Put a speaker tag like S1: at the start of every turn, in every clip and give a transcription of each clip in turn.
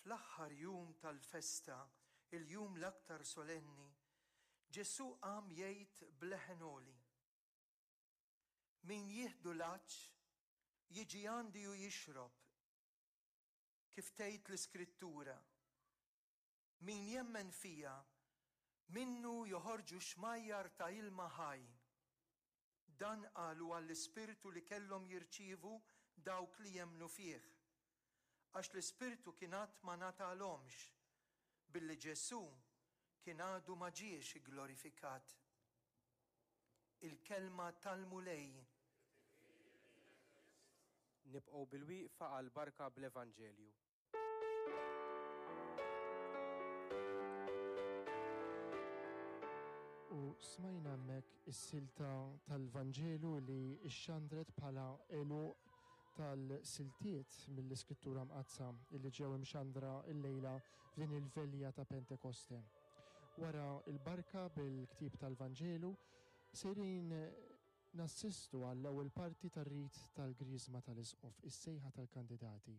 S1: Fl-aħħar jum tal-festa, il-jum l-aktar solenni, Ġesù qam jgħid b'leħen għoli, Min jieħdu l-għatx, jiġi għandi u jixrob, kif tgħid l-Iskrittura, Min jemmen fija, minnu joħorġu xmajjar ta' ilma ħaj. Dan qalu għall-Ispirtu li kellhom jirċievu dawk li jemmnu fih, għax l-Ispirtu kien għad ma ngħatalhomx, billi Ġesù kien għadu ma ġiex igglorifikat. Il-Kelma tal-Mulej.
S2: Nibqgħu bilwieqfa għall-barka bl-Evanġelju.
S3: U smajna hemmhekk is-silta tal-Vanġelu li xxandret bħala għeluq tal-siltiet mill-Iskrittura Mqaddsa li ġew imxandra llejla f'din il-velja ta' Pentekoste. Wara l-barka bil-ktieb tal-Vanġelu, sejrin nassistu għall-ewwel parti tar-rit tal-Griżma tal-Isqof, is-sejħa tal-kandidati,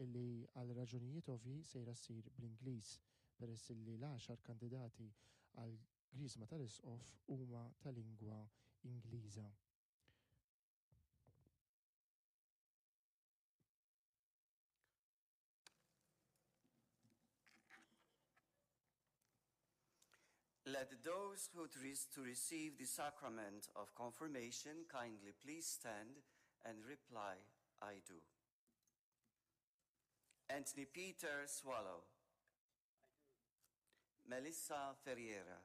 S3: illi għal raġunijiet ovvji sejra ssir bl-Ingliż, peress illi l-għaxar kandidati għall-Griżma tal-Isqof huma ta' lingwa Ingliża.
S4: Let those who to receive the sacrament of confirmation kindly please stand and reply, I do. Anthony Peter Swallow. I do. Melissa Ferriera.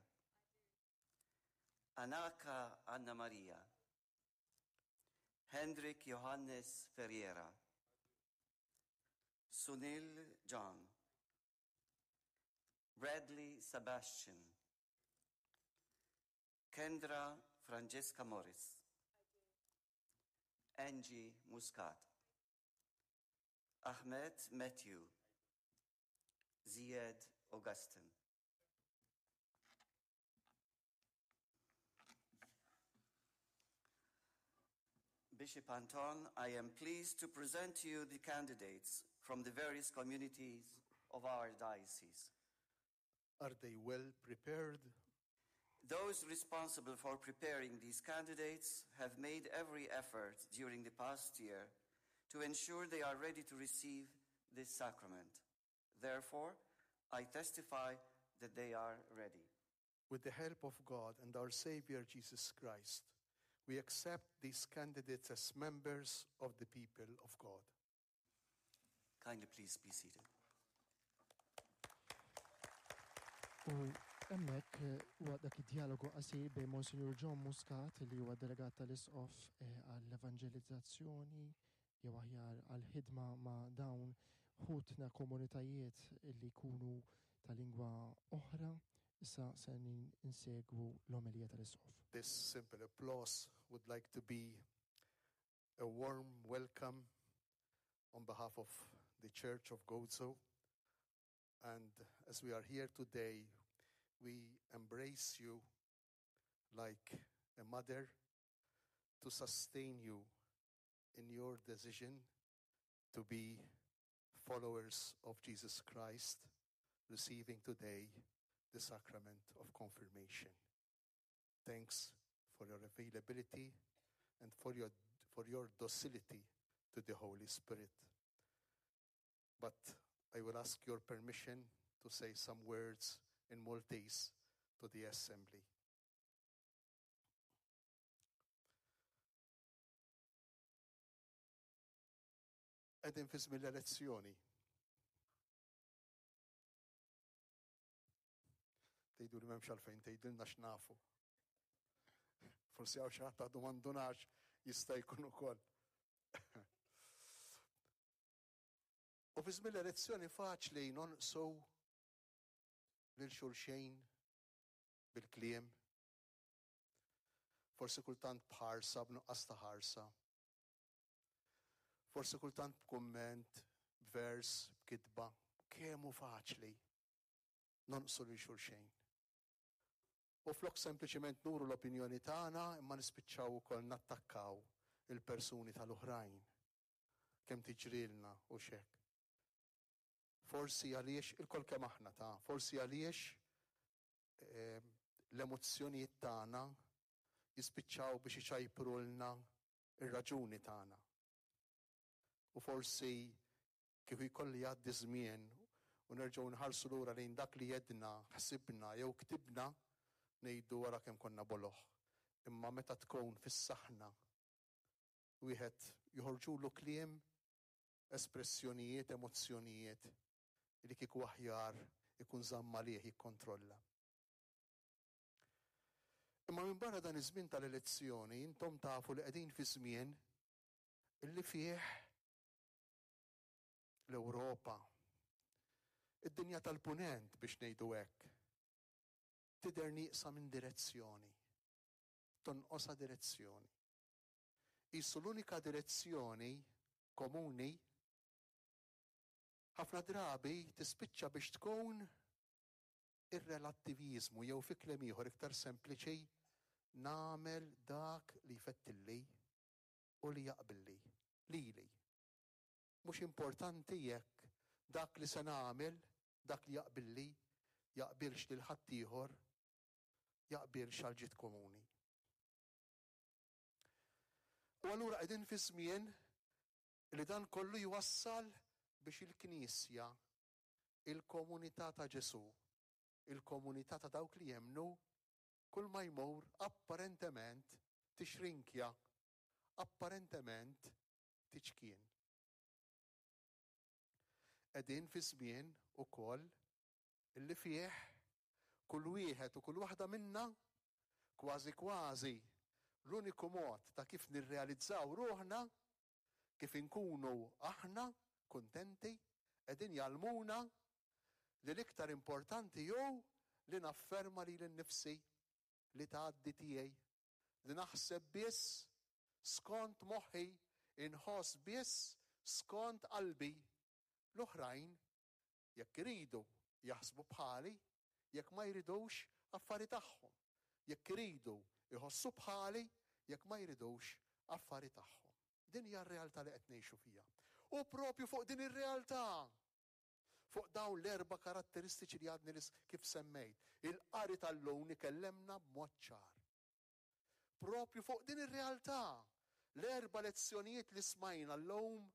S4: Anaka Anna Maria. Hendrik Johannes Ferriera. Sunil John. Bradley Sebastian. Kendra Francesca Morris. Angie Muscat. Ahmed Matthew. Ziad Augustin. Bishop Anton, I am pleased to present to you the candidates from the various communities of our diocese.
S5: Are they well prepared?
S4: Those responsible for preparing these candidates have made every effort during the past year to ensure they are ready to receive this sacrament. Therefore, I testify that they are ready.
S5: With the help of God and our Savior Jesus Christ, we accept these candidates as members of the people of God.
S4: Kindly please be seated.
S3: U hemmhekk eh, waqt dak id-dialogu qasir bejn Monsinjur John Muscat li huwa delegat tal-Isqof eh, għall-evanġelizzazzjoni jew aħjar għall-ħidma ma' dawn ħutna komunitajiet li jkunu ta' lingwa oħra, issa se insegwu l-omelija tal-Isqof.
S5: This simple applause would like to be a warm welcome on behalf of the Church of Gozo. And as we are here today, we embrace you like a mother to sustain you in your decision to be followers of Jesus Christ, receiving today the sacrament of confirmation. Thanks for your availability and for your, for your docility to the Holy Spirit. But I will ask your permission to say some words in Maltese to the assembly. Qegħdin fi żmien l-elezzjoni. Tgħidu li m'hemmx għalfejn tgħidilna x'nafu. Forsi hawn xi ħadd għadu m'għandunax jista' jkun ukoll. U fi żmien l-elezzjoni faċli nonqsu lil xulxejn bil-kliem. Forsi kultant b'ħarsa, b'nuqqas ta' ħarsa. Forsi kultant b'kumment, b'vers, b'kitba. Kemm hu faċli nonqsu lil xulxejn. U flok sempliċiment nuru l-opinjoni tagħna imma nispiċċaw ukoll nattakkaw il-persuni tal-oħrajn. Kemm tiġrilna u xek. Forsi għaliex, ilkoll kemm aħna ta' forsi għaliex ehm, l-emozzjonijiet tagħna jispiċċaw biex iċajprulna ir-raġuni tagħna. U forsi kieku jkolli jgħaddi żmien u nerġgħu nħarsu lura lejn dak li għedna, ħsibna jew ktibna, ngħidu wara kemm konna boloh. Imma meta tkun fis-saħna, wieħed joħorġulu kliem, espressjonijiet, emozzjonijiet li kieku aħjar ikun żamm għalih jikkontrolla. Imma minbarra dan iż-żmien tal-elezzjoni, intom tafu li qegħdin fi żmien illi fih l-Ewropa, id-dinja tal-Punent biex ngħidu hekk, tidher nieqsa minn direzzjoni, tonqosha direzzjoni. Qisu l-unika direzzjoni komuni ħafna drabi tispiċċa biex tkun ir-relattiviżmu jew fi kliem ieħor iktar sempliċi nagħmel dak li jfettilli u li jaqbilli lili. Mhux importanti jekk dak li se nagħmel, dak li jaqbilli, jaqbilx lil ħaddieħor, jaqbilx għall-ġid komuni. U allura qegħdin fi żmien li dan kollu jwassal biex il-Knisja, il-komunità ta' Ġesù, il-komunità ta' dawk li jemmnu, kull ma jmur apparentement tixrinkja, apparentement tiċkien. Qegħdin fi żmien ukoll illi fih kull wieħed u kull waħda minna kważi kważi l-uniku mod ta' kif nirrealizzaw ruħna, kif inkunu aħna kuntenti, qegħdin jgħallmuna li l-iktar importanti hu li nafferma lili nnifsi, li tgħaddi tiegħi, li naħseb biss skont moħħi, inħoss biss skont qalbi. L-oħrajn, jekk iridu, jaħsbu bħali, jekk ma jridux, affari tagħhom. Jekk iridu, iħossu bħali, jekk ma jridux, affari tagħhom. Din hija r-realtà li qed ngħixu fiha. U propju fuq din ir-realtà, fuq dawn l-erba' karatteristiċi li għadni kif semmejt, il-qari tal-lum ikellemna b'mod ċar. Propju fuq din ir-realtà, l-erba' lezzjonijiet li smajna llum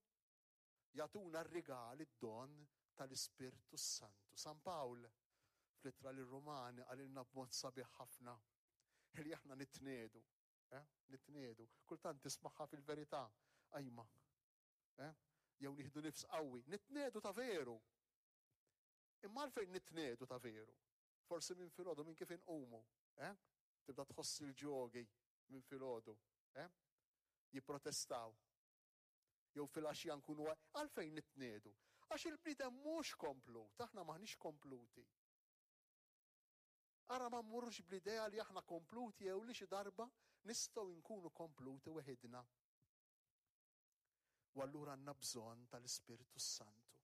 S5: jagħtuna r-rigal, id-don tal-Ispirtu s-Santu. San Pawl fl-ittra lir-Rumani qalilna b'mod sabiħ ħafna li aħna nitniedu, eh? Nitniedu. Kultant tismagħha fil-verità, ajma, eh? Jew nieħdu nifs qawwi. Nitniedu ta' veru. Imma għalfejn nitniedu ta' veru? Forsi minn filgħodu minn kif inqumu, eh? Tibda tħoss il-ġogi minn filgħodu, eh? Jipprotestaw. Jew filgħaxija nkunu għalfejn nitniedu? Għax il-bniedem mhux komplut, aħna m'aħniex kompluti. Ara ma mmorrux bl-idea li aħna kompluti jew li xi darba nistgħu nkunu kompluti weħidna. U allura għandna bżonn tal-Ispirtu s-Santu.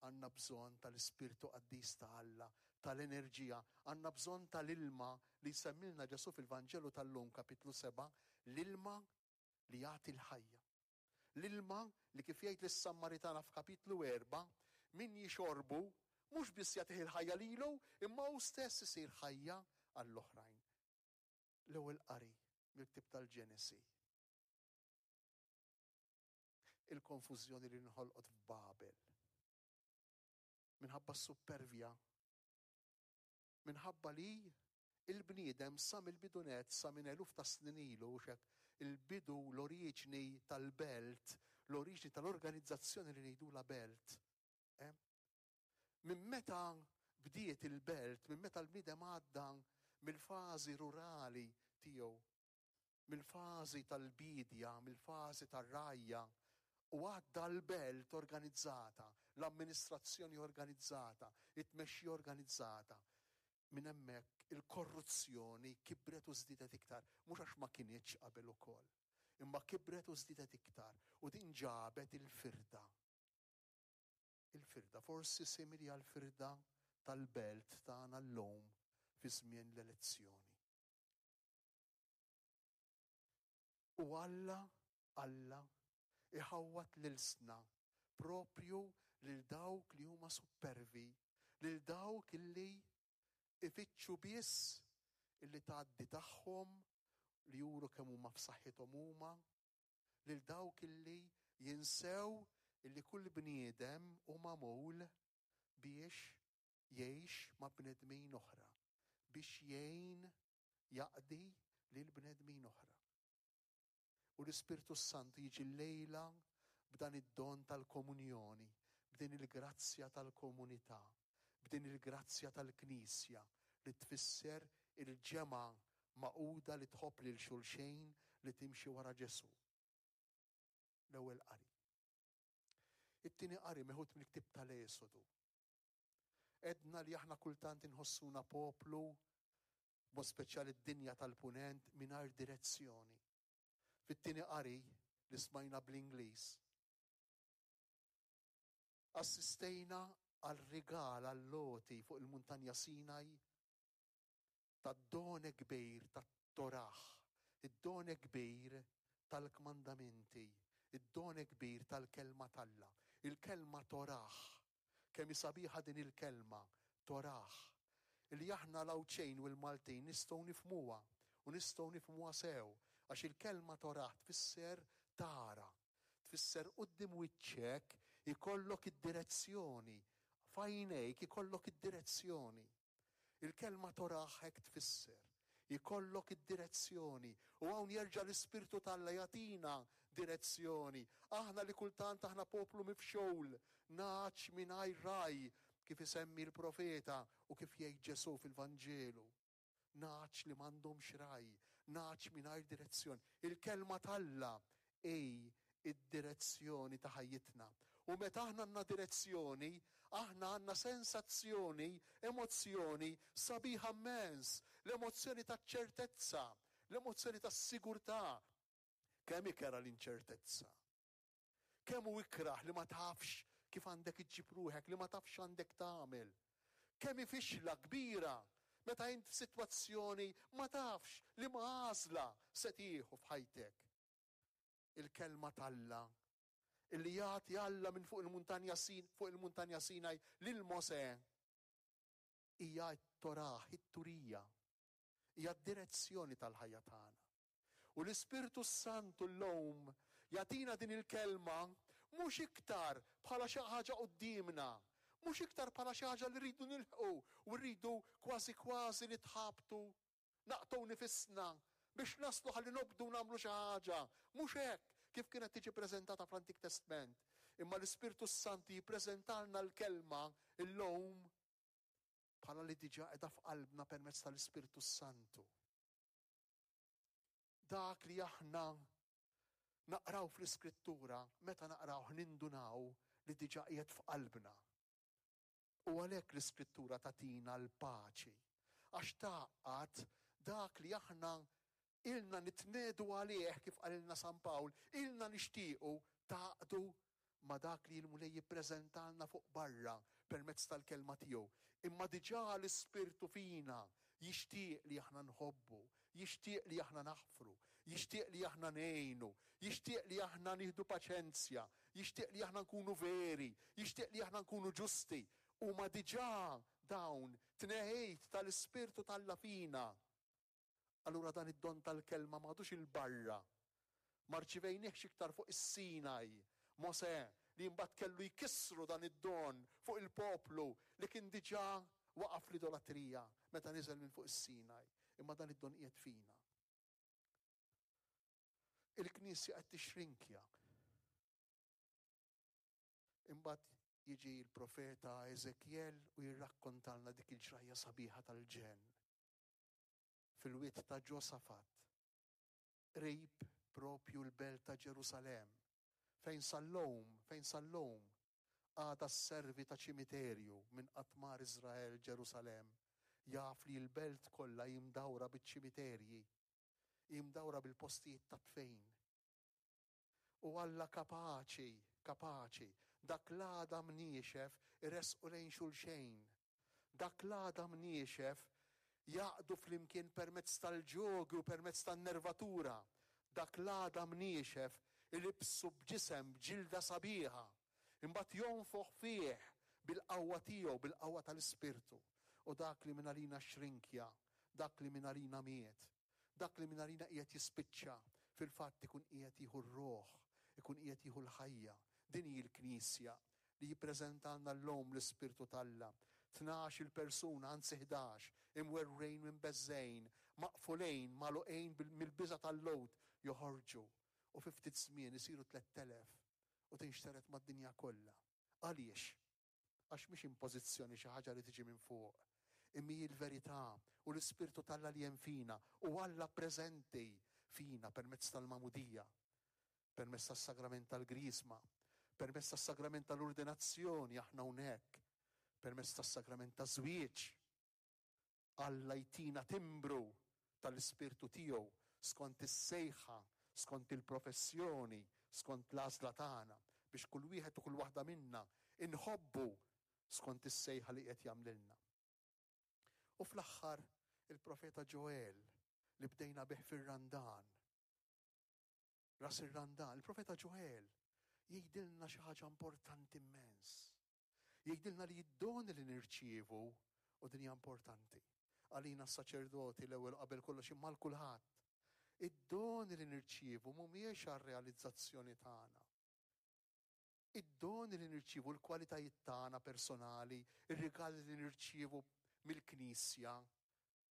S5: Għandna bżonn tal-Ispirtu Qaddis ta' Alla, tal-enerġija, għandna bżonn tal-ilma li jsemmilna Ġesù fil-Vanġelu tal-lum kapitlu 7, l-ilma li jagħti l-ħajja. L-ilma li kif jgħid lis-Sammaritana f'kapitlu 4, min jixorbu mhux biss jagħtih il-ħajja lilu, imma hu stess isir ħajja għall-oħrajn. L-ewwel qari mill-ktieb tal-Ġenesi. Il-konfużjoni li nħolqot f'Babel. Minħabba s-suppervja. Minħabba li il-bniedem sa mill-bidu nett, sa minn eluf ta' snin ilu, hekk, il-bidu, l-oriġni tal-belt, l-oriġni tal-organizzazzjoni li ngħidulha belt. Eh? Minn meta bdiet il-belt, minn meta l-bniedem għadda mill-fażi rurali tiegħu, mill-fażi tal-biedja, mill-fażi tar-rgħajja, u għadda l-belt organizzata, l-amministrazzjoni organizzata, it-tmexxija organizzata. Minn hemmhekk il-korruzzjoni kibret u żdiedet iktar, mhux għax ma kinitx qabel ukoll, imma kibret u żdiedet iktar, u din ġabet il-firda. Il-firda, forsi simili għall-firda tal-belt tagħna llum fi żmien l-elezzjoni. U Alla, Alla, iħawwad l-ilsna proprju lil dawk li huma suppervi, lil dawk illi ifittxu biss illi tgħaddi tagħhom li juru kemm huma f'saħħithom huma, lil dawk illi jinsew illi kull bniedem hu magħmul biex jgħix ma' bnedmin oħra, biex jgħin jaqdi lil bnedmin oħra. U l-Ispirtu s-Santu jiġi llejla b'dan id-don tal-komunjoni, b'din il-grazzja tal-komunità, b'din il-grazzja tal-Knisja li tfisser il-ġemgħa magħquda li tħobb lil xulxejn li timxi wara Ġesù. L-ewwel qari. It-tieni qari meħud mill-ktieb tal-Esodu. Għedna li aħna kultant inħossuna poplu, b'mod speċjali d-dinja tal-Punent, mingħajr direzzjoni. Fit-tieni qari li smajna bl-Ingliż, assistejna għal rigal għall-għoti fuq il-Muntanja Sinaj tad-don kbir tat-Torah, id-don kbir tal-kmandamenti, id-don kbir tal-Kelma t'Alla. Il-kelma Torah, kemm hi sabiħa din il-kelma, Torah, li aħna l-Għawdxejn u l-Maltin nistgħu nifhmuha u nistgħu nifhmuha sew, għax il-kelma Torah tfisser tara, tfisser quddiem wiċċek ikollok id-direzzjoni, f'għajnejk ikollok id-direzzjoni. Il-kelma Torah hekk tfisser. Ikollok id-direzzjoni. U hawn jerġa' l-Ispirtu t'Alla jagħtina direzzjoni. Aħna li kultant aħna poplu mifxul, nagħaġ mingħajr ragħaj, kif isemmi l-profeta u kif jgħid Ġesù fil-Vanġelu. Nagħaġ li m'għandhomx ragħaj, nagħaġ mingħajr direzzjoni. Il-kelma t'Alla hi d-direzzjoni ta' ħajjitna. U meta aħna għandna direzzjoni, aħna għandna sensazzjoni, emozzjoni sabiħa mmens, l-emozzjoni taċ-ċertezza, l-emozzjoni tas-sigurtà. Kemm hi kerha l-inċertezza! Kemm hu ikrah li ma tafx kif għandek iġġib ruħek, li ma tafx x'għandek tagħmel. Kemm hi fixla kbira meta int f'sitwazzjoni ma tafx liema għażla se tieħu f'ħajtek. Il-Kelma t'Alla illi jagħti Alla minn fuq il-muntanja Sin, fuq il-muntanja Sinaj lil Mosè hija t-Torah, it-turija, hija d-direzzjoni tal-ħajja tagħna. U l-Ispirtu s-Santu llum jagħtina din il-kelma mhux iktar bħala xi ħaġa quddiemna, mhux iktar bħala xi ħaġa li rridu nilħqu u rridu kważi kważi nitħabtu, naqtgħu nifisna biex naslu ħalli nobdu u nagħmlu xi ħaġa. Mhux hekk kif kienet tiġi preżentata fl-Antik Testment. Imma l-Ispirtu s-Santu jippreżentalna l-kelma llum bħala li diġà qiegħda f'qalbna permezz tal-Ispirtu s-Santu. Dak li aħna naqraw fl-Iskrittura, meta naqrawh nindunaw li diġà qiegħed f'qalbna. U għalhekk l-Iskrittura tagħtina l-paċi, għax tgħaqqad dak li aħna ilna nitnedu għalih, kif qalilna San Pawl, ilna nixtiequ, tgħaqqdu ma' dak li l-Mulej jippreżentalna fuq barra permezz tal-Kelma tiegħu. Imma diġà l-Ispirtu fina jixtieq li aħna nħobbu, jixtieq li aħna naħfru, jixtieq li aħna ngħinu, jixtieq li aħna nieħdu paċenzja, jixtieq li aħna nkunu veri, jixtieq li aħna nkunu ġusti. Huma diġà dawn tnehid tal-Ispirtu t'Alla fina. Allura dan id-don tal-kelma m'għadux 'il barra. Ma rċivejniehx iktar fuq is-Sinaj, Mosè, li mbagħad kellu jkissru dan id-don fuq il-poplu li kien diġà waqa' fl-idolatrija meta niżel minn fuq is-Sinaj. Imma dan id-don qiegħed fina. Il-Knisja qed tixrinkja. Imbagħad jiġi l-profeta Eżekjel u jirrakkontalna dik il-ġrajja sabiħa tal-ġenn. Fil-wied ta' Ġosafat, qrib propju l-belt ta' Ġerusalemm, fejn sal-lum, fejn sal-lum, għadha sservi ta' ċimiterju minn qatt mar Iżrael Ġerusalemm, jaf li l-belt kollha hi mdawra biċ-ċimiterji, hi mdawra bil-postijiet tad-dfin. U Alla kapaċi, kapaċi, dak l-għadam niexef iressqu lejn xulxejn. Dak l-għadam niexef jgħaqqdu flimkien permezz tal-ġogi u permezz tan-nervatura. Dak l-għadam niexef ilibbsu b'ġisem, b'ġilda sabiħa. Imbagħad jonfoħ fih bil-qawwa tiegħu, bil-qawwa tal-Ispirtu. U dak li mingħalina xrinkja, dak li mingħalina miet, dak li mingħalina qiegħed jispiċċa, fil-fatt ikun qiegħed jieħu r-ruħ, ikun qiegħed jieħu l-ħajja. Din hi l-Knisja li jippreżentalna llum l-Ispirtu t'Alla. 12-il persuna, anzi 11, imwerwrejn minn beżżgħin, maqfulejn, magħluqejn mill-biża' tal-Lhud, joħorġu u fi ftit żmien isiru 3000 u tinxtered mad-dinja kollha. Għaliex? Għax mhix impożizzjoni xi ħaġa li tiġi minn fuq, imma hi l-verità u l-Ispirtu t'Alla li hemm fina u Alla preżenti fina permezz tal-magħmudija, permezz tas-sagrament tal-Griżma, permezz tas-sagrament tal-Ordinazzjoni aħna hawnhekk, permezz tas-sagrament taż-żwieġ. Alla jtina timbru tal-Ispirtu tiegħu skont is-sejħa, skont il-professjoni, skont l-għażla tagħna, biex kull wieħed u kull waħda minna inħobbu skont is-sejħa li qiegħed jagħmlilna. U fl-aħħar il-profeta Ġoel li bdejna bih fir-Randan, ras ir-Randan, il-profeta Ġoel jgħidilna xi ħaġa importanti immens. Jgħidilna li d-doni li nirċievu, u din hija importanti, għalina s-saċerdoti l-ewwel qabel kollox imma għal kulħadd, id-doni li nirċievu mhumiex għar-realizzazzjoni tagħna. Id-doni li nirċievu, l-kwalitajiet tagħna personali, ir-rigali li nirċievu mill-Knisja,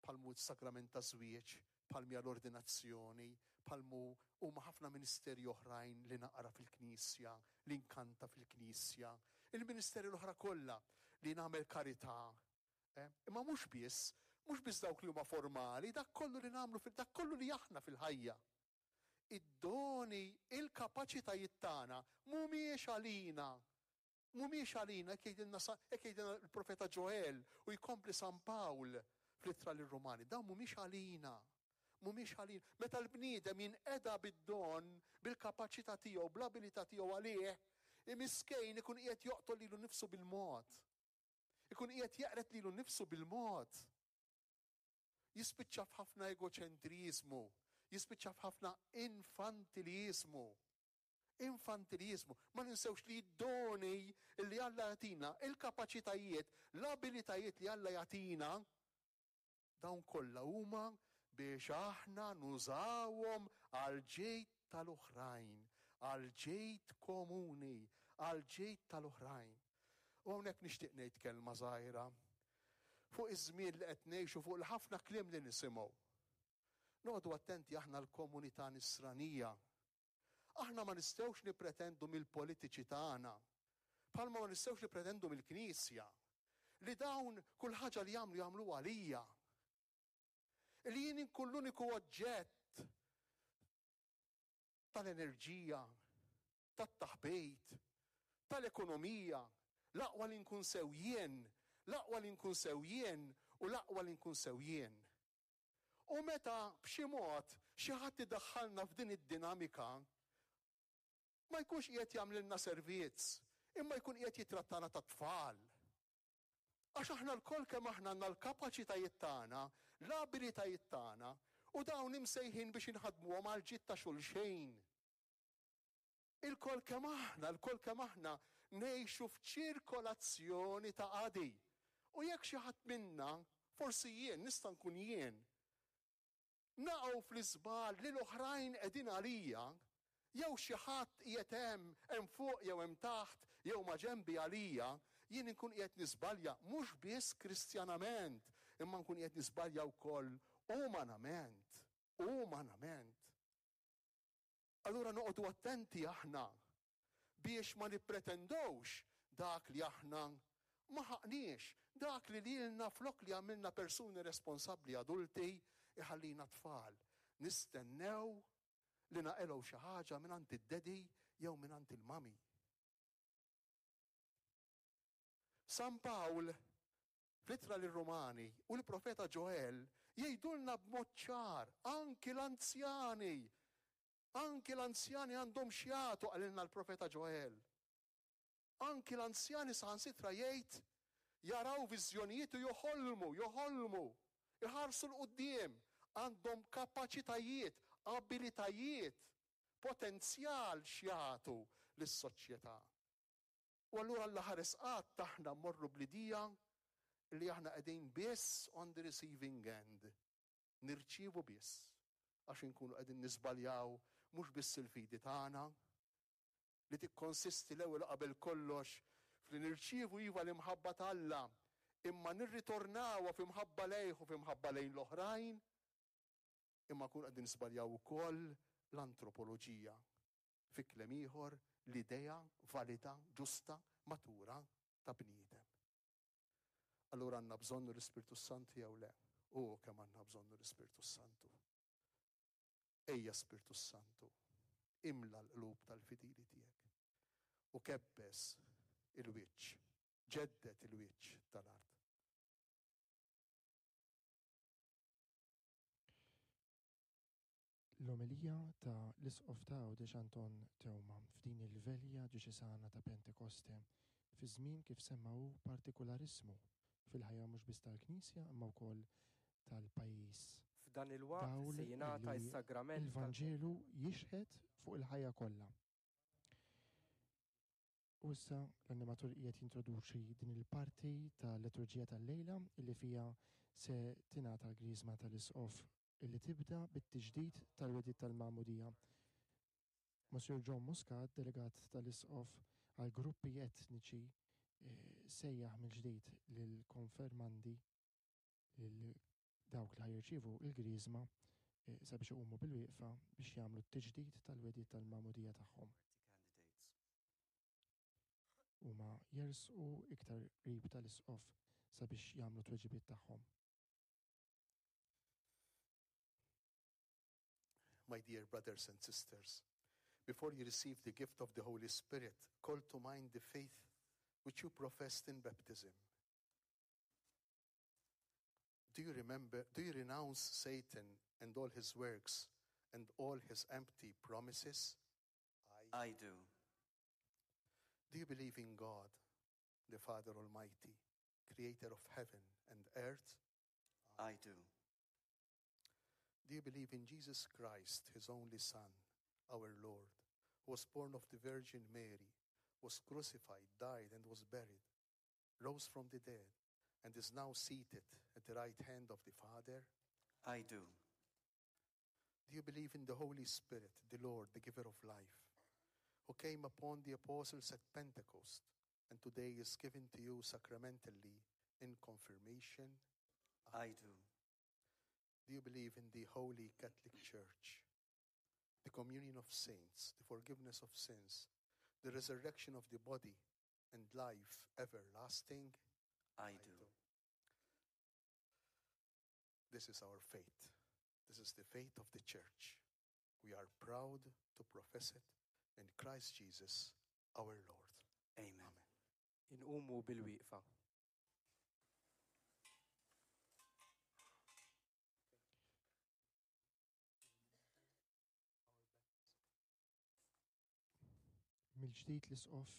S5: bħal mhu s-sagrament taż-żwieġ, bħal mhi l-ordinazzjoni, bħal mhu huma ħafna ministeri oħrajn li naqra fil-Knisja, li nkanta fil-Knisja, il-ministeri l-oħra kollha li nagħmel karità. Eh? Imma mhux biss, mhux biss dawk li huma formali, dak kollu li nagħmlu dak kollu li aħna fil-ħajja. Id-doni, il-kapaċitajiet tagħna mhumiex għalina. Mhumiex għalina, hekk jgħidilna hekk jgħidilna l-profeta Ġoel u jkompli San Pawl fl-ittra lir-Rumani. Dawn mhumiex għalina. Mhumiex għalina. Meta l-bniedem jinqeda bid-don, bil-kapaċità tiegħu, bl-abilità tiegħu għalih, imiskejn ikun qiegħed joqtol lilu nnifsu bil-mod. Ikun qiegħed jeqred lilu nnifsu bil-mod. Jispiċċa f'ħafna egoċentriżmu, jispiċċa f'ħafna infantiliżmu. Infantiliżmu. Ma ninsewx li d-doni li Alla jagħtina, il-kapaċitajiet, l-abilitajiet li Alla jagħtina, dawn kollha huma biex aħna nużawhom għall-ġid tal-oħrajn, għall-ġid komuni, għall-ġid tal-oħrajn. U hawnhekk nixtieq ngħid kelma żgħira fuq iż-żmien li qed ngħixu fuq il-ħafna kliem li nisimgħu. Noqogħdu attenti aħna l-komunità nisranija. Aħna ma nistgħux nippretendu mill-politiċi tagħna, bħalma ma nistgħux nippretendu mill-Knisja, li dawn kull ħaġa li jagħmlu jagħmluha għalija. Li jien inkun l-uniku oġġett tal-enerġija, tat-taħbit, tal-ekonomija, l-aqwa li nkun sew jien, l-aqwa li nkun sew jien u l-aqwa li nkun sew jien. U meta b'xi mod xi ħadd idaħħalna f'din id-dinamika, ma jkunx qiegħed jagħmlilna servizz, imma jkun qiegħed jittrattana ta' tfal. Għax aħna lkoll kemm aħna għandna l-kapaċitajiet tagħna, l-abilitajiet tagħna, u dawn imsejħin biex inħaddmuhom għall-ġid ta' xulxejn. Ilkoll kemm aħna, lkoll kemm aħna ngħixu f'ċirkolazzjoni ta' qadi. U jekk xi ħadd minna, forsi jien, nista' nkun jien, naqgħu fl-iżball li l-oħrajn qegħdin għalija, jew xi ħadd qiegħed hemm, hemm fuq jew hemm taħt jew maġenbi għalija, jien inkun qiegħed niżbalja mhux biss Kristjanament, imma nkun qiegħed niżbalja wkoll umanament. Umanament. Allura noqogħdu attenti aħna biex ma nippretendewx dak li aħna ma ħaqniex, dak li lilna flok li jagħmilna persuni responsabbli adulti iħallina tfal. Nistennew li naqilgħu xi ħaġa mingħand id-daddy jew mingħand il-mummy. San Pawl fl-Ittra lir-Rumani u l-profeta Ġoel jgħidulna b'mod ċar, anki l-anzjani, anki l-anzjani għandhom x'jagħtu qalilna l-profeta Ġoel. Anki l-anzjani saħansitra jgħid jaraw viżjonijiet u joħolmu, joħolmu, iħarsu 'l quddiem, għandhom kapaċitajiet, abilitajiet, potenzjal x'jagħtu lis-soċjetà. U allura Alla ħares qatt aħna mmorru bl-idea li aħna qegħdin biss on the receiving end. Nirċievu biss għax inkunu qegħdin niżbaljaw mhux biss il-fidi tagħna, li tikkonsisti l-ewwel u qabel kollox f'li nirċievu iva l-imħabba ta' Alla, imma nirritornawha fi mħabba lejh u fi mħabba lejn l-oħrajn, imma nkunu qegħdin niżbaljaw ukoll l-antropoloġija, fi kliem ieħor, l-idea valida, ġusta, matura ta' bniedem. Allura għandna bżonnu l-Ispirtu s-Santu jew le? O kemm għandna bżonnu l-Ispirtu s-Santu! Ejja Spirtu s-Santu, imla l-qlub tal-fidili tiegħek u kebbes il-wiċċ, ġedded il-wiċċ tal-art.
S3: L-omelija ta' l-Isqof ta' Għawdex Anton Teuma f'din il-Velja Djoċesana ta' Pentekoste fi żmien kif semma hu partikularissmu fil-ħajja mhux biss tal-Knisja imma wkoll tal-pajjiż.
S2: F'dan il-waqt
S3: Dawl
S2: se jingħata
S3: li
S2: s-sagrament
S3: l-Vanġelu
S2: tal-Pentekoste.
S3: jixhed fuq il-ħajja kollha. U issa l-animatur qiegħed jintroduċi din il-parti tal-liturġija tal-lejla illi fiha se tingħata l-Griżma tal-Isqof illi tibda bit-tiġdid tal-wegħdiet tal-Magħmudija. Monsignor John Muscat, delegat tal-Isqof għall-gruppi etniċi, sejjaħ mill-ġdid lill-konfermandi, lil dawk li ħa jirċievu l-Griżma, sabiex iqumu bilwieqfa biex jagħmlu t-tiġdid tal-wegħdiet tal-Magħmudija tagħhom. Huma jersqu iktar qrib tal-Isqof sabiex jagħmlu t-tweġibiet tagħhom.
S5: My dear brothers and sisters, before you receive the gift of the Holy Spirit, call to mind the faith which you professed in baptism. Do you remember, do you renounce Satan and all his works and all his empty promises?
S4: I do.
S5: Do you believe in God, the Father Almighty, creator of heaven and earth?
S4: I do.
S5: Do you believe in Jesus Christ, his only Son, our Lord, who was born of the Virgin Mary, was crucified, died, and was buried, rose from the dead, and is now seated at the right hand of the Father?
S4: I do.
S5: Do you believe in the Holy Spirit, the Lord, the giver of life, who came upon the apostles at Pentecost, and today is given to you sacramentally in confirmation?
S4: I do.
S5: Do you believe in the Holy Catholic Church, the communion of saints, the forgiveness of sins, the resurrection of the body, and life everlasting?
S4: I do.
S5: This is our faith. This is the faith of the Church. We are proud to profess it in Christ Jesus, our Lord.
S4: Amen.
S2: Inqumu bilwieqfa.
S3: Mill-ġdid l-Isqof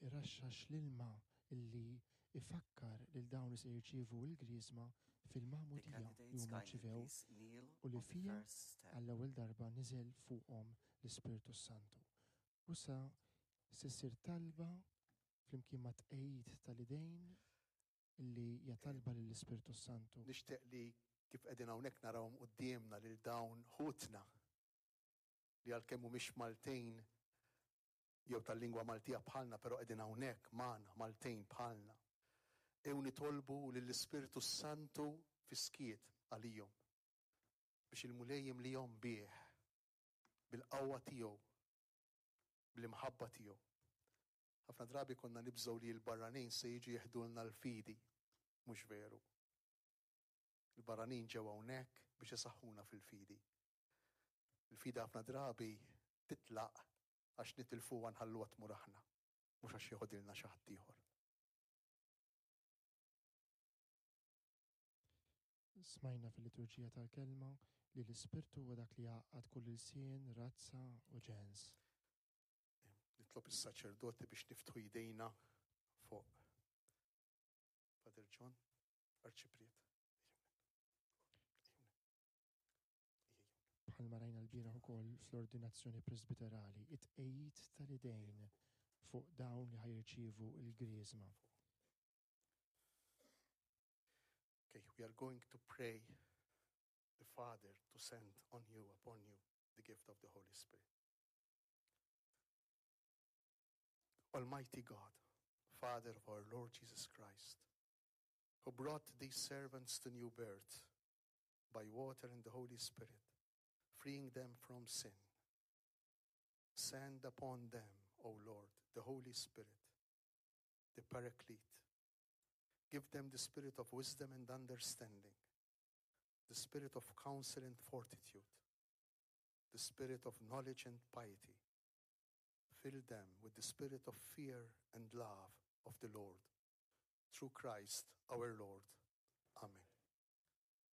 S3: iraxxax l-ilma li ifakkar lil dawn li se jirċievu l-Griżma
S4: The
S3: fil-Magħmudija li
S4: candidates
S3: huma
S4: kindly
S3: rċivew
S4: please kneel
S3: u li
S4: on the
S3: fiha
S4: first step.
S3: għall-ewwel darba niżel fuqhom l-Ispirtu s-Santu. U sa se ssir talba flimkien ma' tqegħid tal-idejn li hija talba lill-Ispirtu s-Santu.
S5: Nixtieq li kif qegħdin hawnhekk narawhom quddiemna lil dawn ħutna li għalkemm mhumiex Maltin jew tal-lingwa Maltija bħalna, però qegħdin hawnhekk magħna Maltin bħalna. Ejjew nitolbu lill-Ispirtu s-Santu fis-skiet għalihom biex il-Mulej jimlihom bih bil-qawwa tiegħu, bl-imħabba tiegħu. Ħafna drabi konna nibżgħu li l-barranin se jiġu jeħdulna l-fidi. Mhux veru. Il-barranin ġew hawnhekk biex isaħħuna fil-fidi. Il-fidi ħafna drabi titlaq għax nitilfuha nħalluha tmur aħna, mhux għax jeħodilna xi ħadd ieħor.
S3: Smajna fil-liturġija tal-kelma li l-Ispirtu huwa dak li jgħaqqad kull ilsien, razza u ġens.
S5: Nitlob is-saċerdoti biex niftħu jdejna fuq Father John, Arċipriet.
S3: Bħalma rajna lbieraħ ukoll fl-ordinazzjoni presbiterali, it-tqegħid tal-idejn fuq dawn li ħa jirċievu l-Griżma.
S5: Okay, we are going to pray the Father to send on you, upon you, the gift of the Holy Spirit. Almighty God, Father of our Lord Jesus Christ, who brought these servants to new birth by water and the Holy Spirit, freeing them from sin. Send upon them, O Lord, the Holy Spirit, the Paraclete. Give them the spirit of wisdom and understanding, the spirit of counsel and fortitude, the spirit of knowledge and piety. Fill them with the spirit of fear and love of the Lord. Through Christ our Lord. Amen.